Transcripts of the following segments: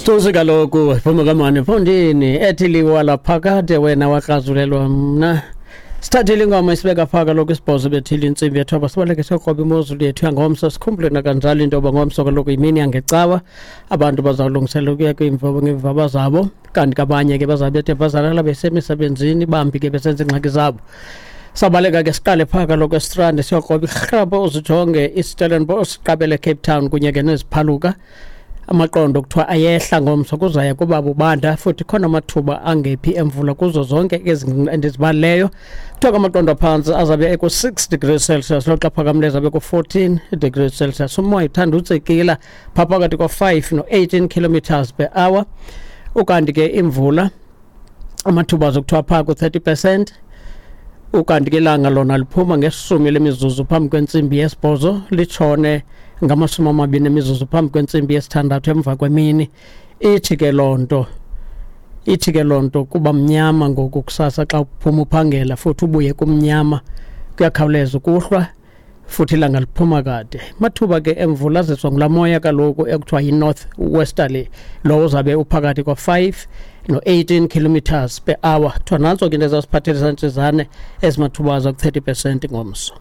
Tuzi kaloku phuma kamani mfondini ethi liwa laphakade wena wakrazulelwa mna. Sithathile ingoma isibeka phaa kaloku isibhozo bethile intsimbi yethoba, sibaleke siyokroba imozulu yethu yangomso. Sikhumbule nakanjalo into yoba ngomso kaloku yimini yangecawa, abantu bazawulungisela ukuya ngeemvaba zabo, kanti kabanye ke bazawube bethe bazalala besemisebenzini, bambi ke besenza iingxaki zabo. Sabaleka ke siqale phaa kaloku eStrand siyokroba irhrapho, uzijonge iStellenbosch, siqabele Cape Town kunye ke neziphaluka. Amaqondo kuthiwa ayehla ngomso, kuzaya kuba bubanda futhi khona amathuba angephi emvula kuzo zonke ezi endizibalileyo. Kuthiwa ke amaqondo aphantsi azabe eku-6 degrees Celsius, loxa aphakamileyo azabe ku-14 degrees Celsius. Umoya uthanda utsikila phaa phakathi ko-5 no-18 kilometers per hour. Ukanti ke imvula amathuba azokuthiwa phaa ku-30%. Ukanti ke ilanga lona liphuma ngeshumi lemizuzu phambi kwentsimbi yesibhozo, litshone ngamashumi amabini emizuzu phambi kwentsimbi yesithandathu emva kwemini. Ithi ke loo nto, ithi ke loo nto kuba mnyama ngoku kusasa xa uphuma uphangela, futhi ubuye kumnyama, kuyakhawuleza ukuhlwa futhi ilanga liphuma kade. Mathuba ke emvula aziswa ngulaa moya kaloku ekuthiwa yi-north westerly, lowo uzabe uphakathi kwa-5 no-18 kilometers per hour. Kuthiwa nantso ke into ezasiphathela ntsizane ezimathuba aza ku-30% ngomso.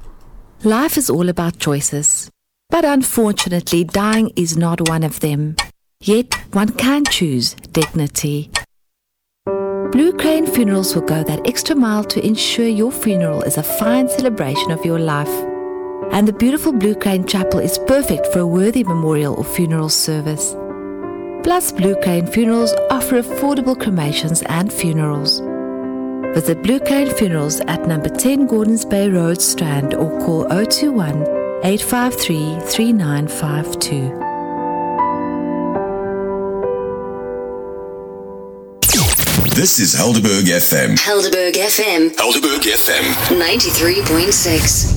Life is all about choices, but unfortunately dying is not one of them. Yet one can choose dignity. Blue Crane Funerals will go that extra mile to ensure your funeral is a fine celebration of your life. And the beautiful Blue Crane Chapel is perfect for a worthy memorial or funeral service. Plus, Blue Crane Funerals offer affordable cremations and funerals. Visit Blue Crane Funerals at number 10 Gordons Bay Road, Strand, or call 021 853 3952. This is Helderberg FM. Helderberg FM. Helderberg FM. 93.6.